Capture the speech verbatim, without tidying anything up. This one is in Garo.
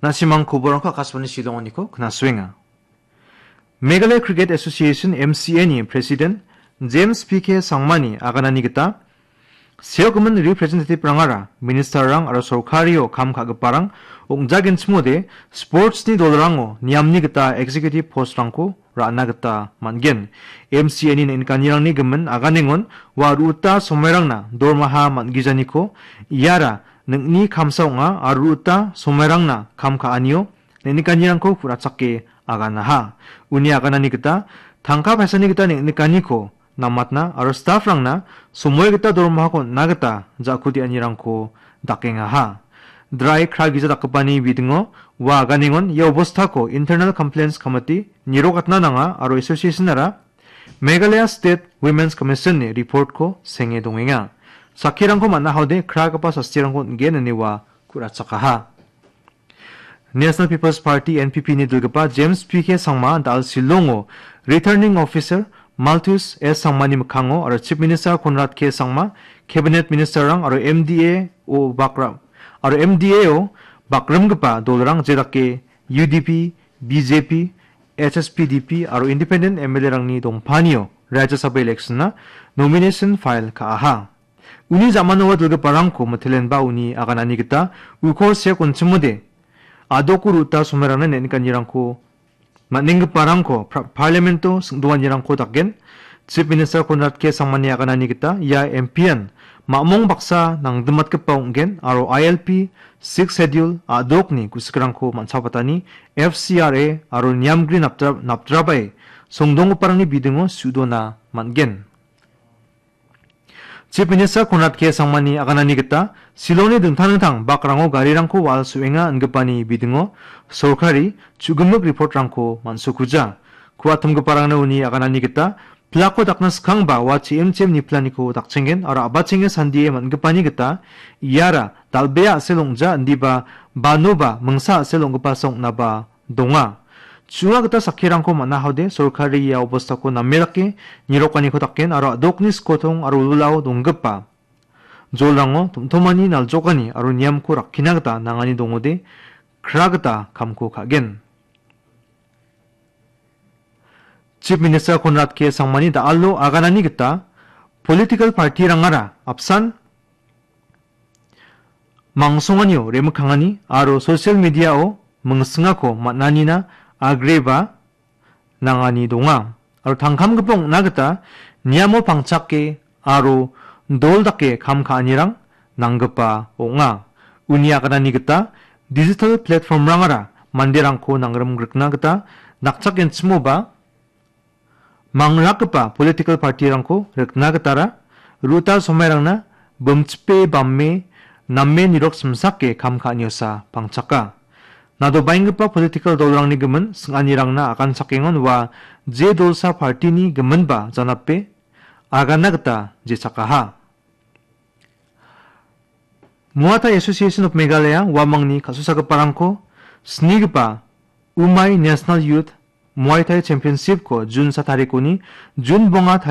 Na·simang koborangko Akashvani Shillonganiko knasuenga. Meghalaya Cricket Association, M C A ni President James P K Sangmani aganani gita seokgimin representative-rangara minister-rang aro sorkario kam ka·giparang ong·jagenchimode sports-ni dolrango niamni gita executive post-rangko ra·na gita man·gen. M C A ni neng·nikanirangni gimin aganengon ua ru·uta somairangna dormaha man·gijaniko iara ning·ni kamsa ong·a aro ru·uta somairangna kam ka·anio neng·nikanirangko ku·rachake aganaha. Uni aganani gita tangka paisani gita neng·nikaniko namatna aro staff-rangna somoi gita dormahako on·na gita ja·kudianirangko dakengaha. Drai kra gija dakgipani bidingo ua aganengon ia obostako Internal Complaints Committee nirokatna nanga aro association-ara Meghalaya State Women's Commission-ni report-ko senge dongenga. Sakkirangko man·a haode kragipa sastirangko on·gen ine ua ku·rachakaha. National People's Party, N P P ni dilgipa James P K Sangma da·al Shillongo Returning Officer Malthus S Sangmani mikkango aro Chief Minister Conrad K Sangma, Cabinet Minister-rang aro M D A o bakra-, aro M D A o bakrimgipa dolrang jedake U D P, B J P, H S P D P aro Independent M L A-rangni dongpanio Rajya Sabha election-na nomination file ka·aha. Uni ja·mano ua dilgiparangko mitelenba uni aganani gita uko sek on·chimode a·doko ru·uta somairangna neng·nikanirangko man·enggiparangko pra-, Parliament-o sing·doanirangko daken. Chief Minister Conrad K Sangmani aganani gita ia M P-an mamung baksa nangdimatgipa ong·gen aro I L P, Sixth Schedule, a·dokni gu·sikrangko man·sabatani F C R A aro niamgri napdra-, napdrabae songdonggiparangni bidingo su·dona man·gen. Chief Minister Conrad K Sangmani aganani gita Shillongni dingtang dingtang bakrango garirangko wal su·enga ingipani bidingo sorkari chu·gimik report-rangko man·sokuja. Ku·atimgiparangna uni aganani gita pilakko dakna skangba ua chim chim niplaniko dakchenggen aro a·bachenge sandie man·gipani gita iara dal·bea a·sel ong·ja indiba banoba mingsa a·sel ong·gipasa ong·naba donga. Chu·a gita sakkirangko man·a haode sorkari ia obostako name dake nirokaniko daken aro a·dokni skotong aro wilwilao donggipa jolrango tom·tomani naljokani aro niamko rakkina gita nangani dongode kra gita kamko ka·gen. Chief Minister Conrad K Sangmani da·alo aganani gita political party-rangara apsan mangsonganio remikkangani aro social media-o mingsingako man·anina agreba nangani donga. Aro tangkamgipa ong·na gita niamo pangchake aro dol dake kam ka·anirang nanggipa ong·a. Uni aganani gita digital platform-rangara manderangko nangrimgrikna gita nakchakgenchimoba mangrakgipa political party-rangko rikna gitara ru·uta somairangna bimchipe bamme name nirok simsake kam ka·aniosa pangchaka. Nadobaenggipa political dolrangni gimin sing·anirangna aganchakengon ua je dolsa party-ni giminba janape agana gita jechakaha. Muay Thai Association of Meghalaya uamangni kal·susagiparangko snigipa Umai National Youth Muay Thai Championship-ko June sa tarikoni June bonga